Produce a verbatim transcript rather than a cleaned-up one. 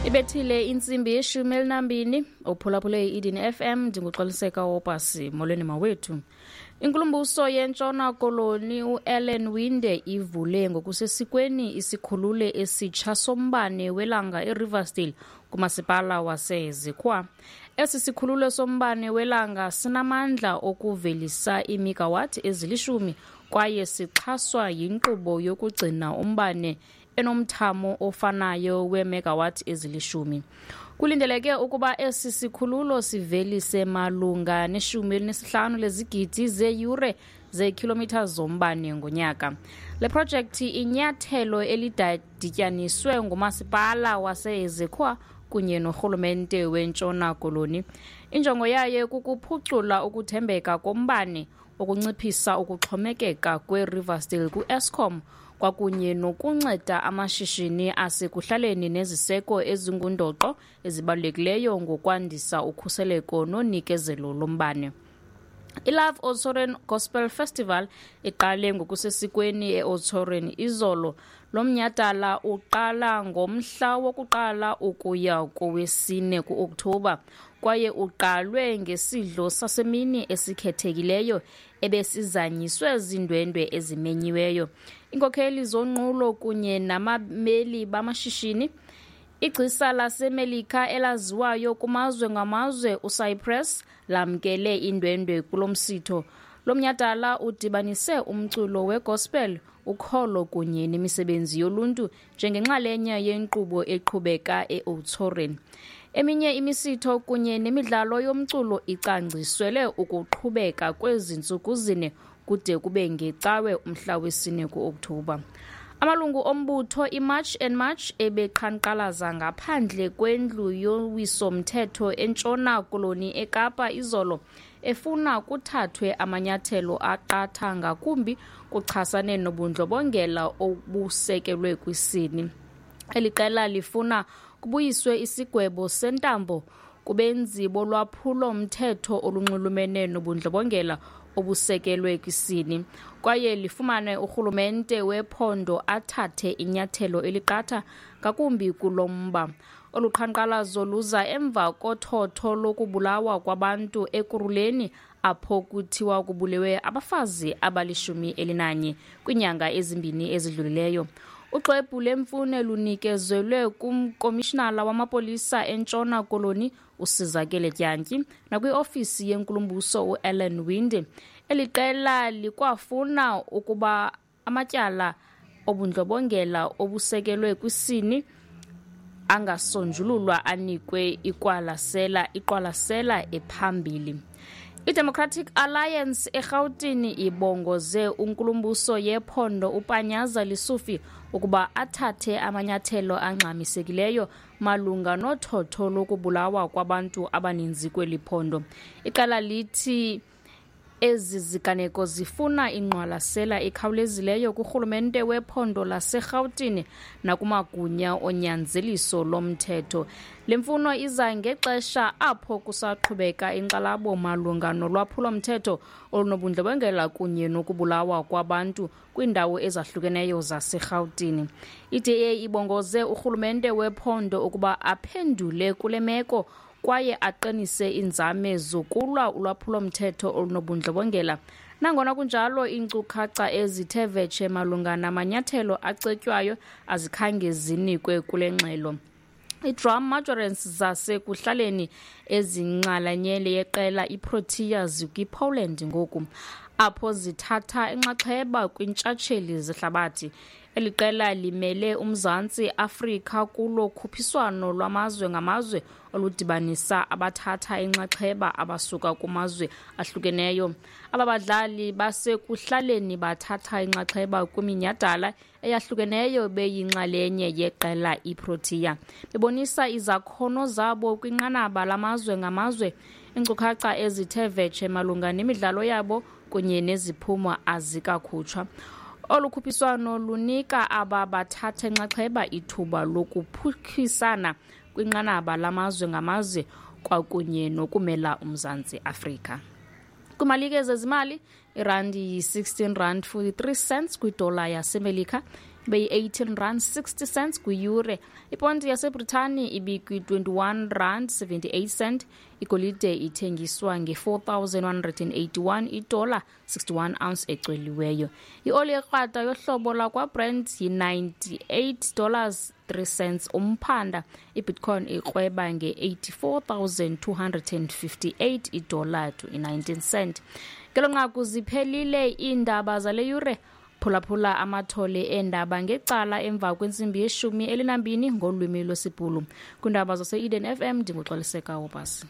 Ibethile intsimbi yeshumi elinambini. Uphulaphule i-Eden F M. Ndinguxoliseka Wopasi. Molweni mawethu. Inkulumbuso yeNtshona Koloni uAllan Winde ivule ngokusesikweni isikhululo esitsha sombane welanga eRiversdale kumasipala waseZikwa. Esi sikhululo sombane welanga sinamandla okuvelisa iimegawathi ezilishumi kwaye sixhaswa yinkqubo yokugcina umbane enomthamo ofanayo weemegawathi ezilishumi. Kulindeleke ukuba esi sikhululo sivelise malunga neshumi elinesihlanu lezigidi zeeyure zeekhilomitha zombane ngonyaka. Le projekthi inyathelo elidityaniswe ngumasipala waseZikwa kunye norhulumente weNtshona Koloni. Injongo yayo kukuphucula ukuthembeka kombane, ukunciphisa ukuxhomekeka kweRiversdale ku-Eskom kwakunye nokunceda amashishini asekuhlaleni neziseko ezingundoqo ezibalulekileyo ngokwandisa ukhuseleko nonikezelo lombane. I-Love Oudtshoorn Gospel Festival iqale ngokusesikweni e-Oudtshoorn izolo. Lo mnyhadala uqala ngomhla wokuqala ukuya kowesine ku-Okthobha kwaye uqalwe ngesidlo sasemini esikhethekileyo ebesizanyiswe ziindwendwe ezimenyiweyo, iinkokheli zonqulo kunye nabameli bamashishini. Igcisa laseMelika elaziwayo kumazwe ngamazwe uCypress lamkele iindwendwe kulo msitho. Lo mnyhadala udibanise umculo wegospel, ukholo kunye nemisebenzi yoluntu njengenxalenye yenkqubo eqhubeka e-Oudtshoorn. Eminye imisitho kunye nemidlalo yomculo icwangciselwe ukuqhubeka kwezi ntsuku zine kude kube ngeCawe umhla wesine ku-Okthobha. Amalungu ombutho iMarch and March ebeqhankqalaza ngaphandle kwendlu yowiso-mthetho eNtshona Koloni eKapa izolo, efuna kuthathwe amanyathelo aqatha ngakumbi kuchasane nobundlobongela obusekelwe kwisini. Eli qela lifuna kubuyiswe isigwebo sentambo kubenzi bolwaphulo-mthetho olunxulumene nobundlobongela obusekelwe kwisini kwaye lifumane urhulumente wephondo athathe inyathelo eliqatha ngakumbi kulo mba. Olu qhankqalazo luza emva kothotho lokubulawa kwabantu Ekurhuleni, apho kuthiwa kubulewe abafazi abalishumi elinanye kwiinyanga ezimbini ezidlulileyo. Uxwebhu lemfuno lunikezelwe kumkomishinala wamapolisa eNtshona Koloni uSizakele Dyantyi nakwiofisi yenkulumbuso uAllan Winde. Eli qela likwafuna ukuba amatyala obundlobongela obusekelwe kwisini angasonjululwa anikwe iqwalasela iqwalasela ephambili. I-Democratic Alliance eRhawutini ibongoze unkulumbuso yephondo uPanyaza Lesufi ukuba athathe amanyathelo angxamisekileyo malunga nothotho lokubulawa kwabantu abaninzi kweli phondo. Iqela lithi ezi ziganeko zifuna ingqwalasela ekhawulezileyo kurhulumente wephondo laseRhawutini nakumagunya onyanzeliso lomthetho. Le mfuno iza ngexesha apho kusaqhubeka inkxalabo malunga nolwaphulo-mthetho olunobundlobongela kunye nokubulawa kwabantu kwiindawo ezahlukeneyo zaseRhawutini. I D A ibongoze urhulumente wephondo ukuba aphendule kule meko kwaye aqinise iinzame zokulwa ulwaphulo-mthetho olunobundlobongela. Nangona kunjalo, iinkcukacha ezithe vetshe malunga namanyathelo acetywayo azikhange zinikwe kule ngxelo. Ii-drum majorettes zasekuhlaleni ezinxalenye yeqela iProtea zikwiPoland ngoku, apho zithatha inxaxheba kwiintshatsheli zehlabathi. Eli qela limele uMzantsi Afrika kulo khuphiswano lwamazwe ngamazwe oludibanisa abathatha inxaxheba abasuka kumazwe ahlukeneyo. Aba badlali basekuhlaleni bathatha inxaxheba kwiminyhadala eyahlukeneyo beyinxalenye yeqela iProtea, bebonisa izakhono zabo kwinqanaba lamazwe ngamazwe. Iinkcukacha ezithe vetshe malunga nemidlalo yabo kunye neziphumo azikakhutshwa. Olu khuphiswano lunika aba bathatha inxaxheba ithuba lokuphuhlisana kwinqanaba lamazwe ngamazwe kwakunye nokumela uMzantsi Afrika. Kwimalike zezimali, irandi yi-sixteen rand forty-three cents kwidola yaseMelika. Beyi-eighteen rand sixty cents kwiyure. Iponti yaseBritani ibikwi-twenty-one rand seventy-eight cent. Igolide ithengiswa nge-four thousand one hundred and eighty-one idola sixty-one ounce ecweliweyo. Ioli ekrwada yohlobo lakwaBrent yi-ninety-eight dollars three cents umphanda. Ibitcoin ikrweba nge-eighty-four thousand two hundred and fifty-eight idola to i-nineteen cent. Ngelo nqaku ziphelile iindaba zale yure. Phulaphula amathole eendaba ngecala emva kwentsimbi yeshumi elinambini ngolwimi lwesiBhulu. Kwiindaba zase-Eden F M ndinguXoliseka Wobasi.